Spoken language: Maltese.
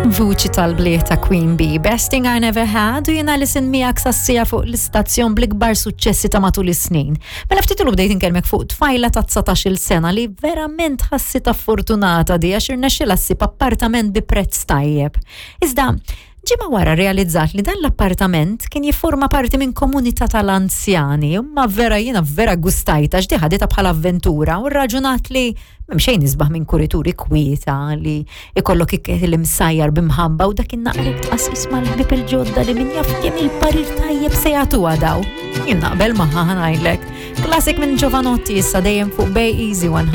Vuċi tal-bliet ta' Queen Bee, Best Thing I Never Had, u jena li sin miegħek sassija fuq l-istazzjon bl-ikbar suċċessi ta' matul is-snin. Mela ftit ilu bdejt inkellmek fuq tfajla ta' 19-il sena li verament ħassitha fortunata di għax irnexxilha ssib appartament bi prezz tajjeb. Iżda, ġimgħa wara realizzat li dan l-appartament kien jifforma parti minn komunità tal-anzjani, imma vera jiena vera gustajta għax di ħaditha bħala avventura u rraġunat li m'hemm xejn isbaħ minn kurituri kwieta li ikollok ikel imsajjar b'imħabba u dak in-naqrek tqasqis mal-ħbieb il-ġodda li min jaf kemm il-parir tajjeb se jagħtuha daw. Jien naqbel magħha ħa ngħidlek. Classic minn Jovanotti issa dejjem fuq Bay Easy 100.